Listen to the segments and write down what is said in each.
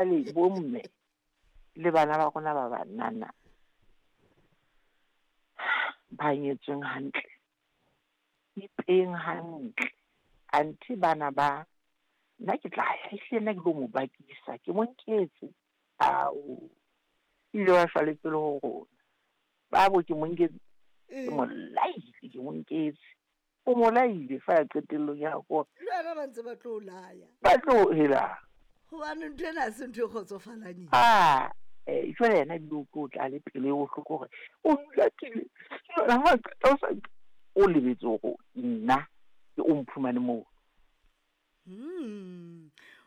Jwale bomme le bana ba rona ba banana ba nyetsweng hantle, ipeng hantle. Anthe bana ba, nna ke tla ya, ehlile nna ke tlo mo bakisa, ke mo nketse. Ao, ile wa shwa le pele ho rona. Babo ke mo nketse, ke mo laile, ke mo nketse. O mo laile fa ya qetellong ya gore. Le wena ba ntse ba tlo o laya. Ba tlo helang. Gobane ntho ena ha se ntho e kgotsofalang e. A eh, jwale yena ebile o tlo tla le pelo e bohloko gore o nlatile jwale ha qeta o sa o lebetse gore nna ke o mphumane moo.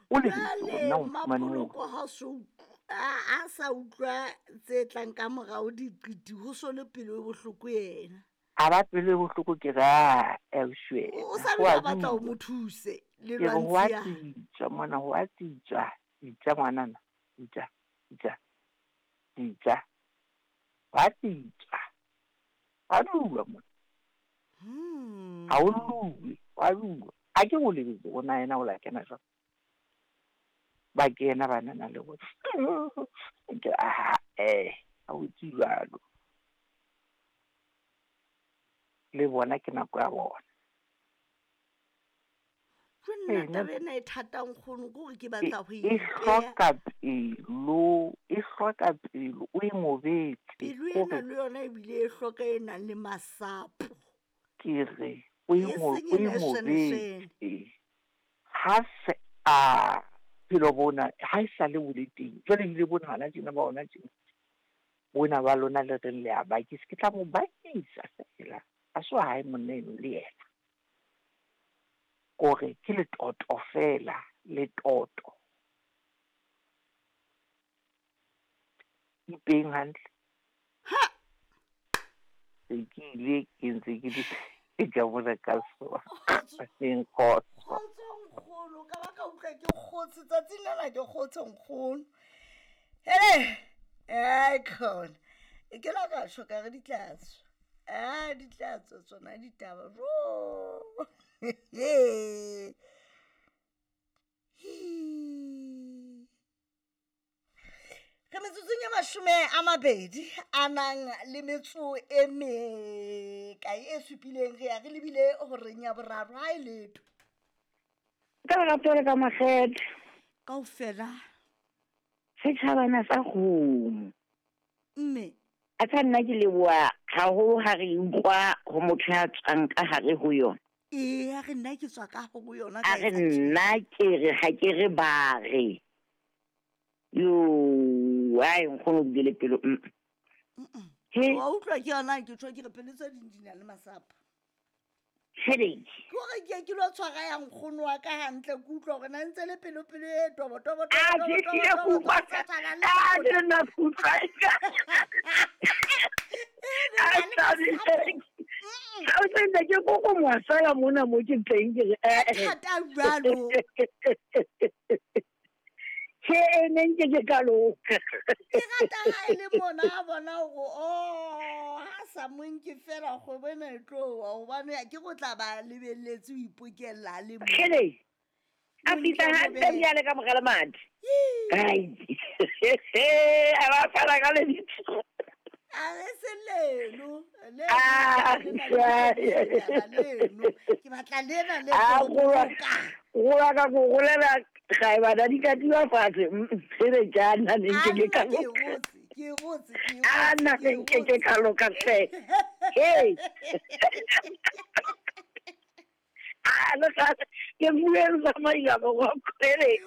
O lebetse gore nna o mphumane moo. Mapoloko ha so a sa utlwa tse tlang ka morao diqiti ho so le pelo e bohloko yena. A ba pelo e bohloko ke re a ausi wena. O sa bile a batla o mo thuse le Ke re ho a lwantshiya. tsitswa mona, ho a tsitswa. Tsitsa ngwanana, tsitsa, tsitsa, tsitsa. Ho a tsitswa. Ho a dulwa mona. Ha ho lluwe, ho a dulwa. A ke o lebetse hore na yena o la kena jwang. Ba kena banana le bona. Ke aha eh, ha ho etse jwalo. Le bona ke nako ya bona. Jo nna taba ena e thata nkgono ke gore ke batla go E e hloka pelo, e hloka pelo, o e ngobetse. Pelo ena le yona ebile e hloka e nang le masapo. Ke re o e E seng e ngobetse. Ha se a phelo bona ha e sa le bo le teng. Jwale ebile bona hona tjena ba hona tjena. Bona ba lona le reng le a bakisa, ke tla mo bakisa fela. Ha se wa hae monna eno le yena. Kore ke letoto fela, letoto. Ipeng hantle. Ha! Se ke ile ke ntse ke di ke ka bona ka soa. Kgotso. Kgotso nkgono, ka ba ka utlwa ke kgotse tsatsing lena ke kgotse nkgono. Hele, ai khona. E ke la ka tjho ka re di tla tswa. A di tla tswa tsona ditaba. Jo. Re metsotsong e 20 a nang le metso e mekae e supileng re ya re lebile horeng ya boraro ha e letho. Ka lerato le ka makgethe. Kaofela. Setjhabana sa kgomo. Mme. A tsa nna ke leboha haholo ha re utlwa ho motho ya tswang ka hare ho yona. Ee, a re nna ke tswa ka ho yona. A re nna ke re ha ke re ba re. Yo, ai nkgono o bile pelo. He. Wa utlwa ke yona ke tjho ke re pelo tse ding di na le masapo. Headache. Ke hore ke ke lo tshwara ya nkgono wa ka hantle ke utlwa hore na ntse le pelo pelo e tobo tobo tobo. A ke ke go utlwa. A ke nna utlwa. A tsa se ke go go mo sala mona mo ke teng ke re eh. Thata jwalo. Ke e neng ke ke ka loka. Ke rata ha e le mona a bona hore oh ha sa mo nke fela kgwebo ena e tlo wa hobane ke go tla ba lebelletse ho ipokella le mo. Hele. A fihla hantle bjale ka mogala madi. Ai. A ba fara ka lebitso. A re se leno. Leno. Ke batla lena le tlo. Go ka go golela ga e bana di ka tiwa fatshe re jana ne ke ke ka loka. Ke gotse ke A nna ne nke ke ka loka hle. Hey. A le ga ke bueng sa maila go go kwele.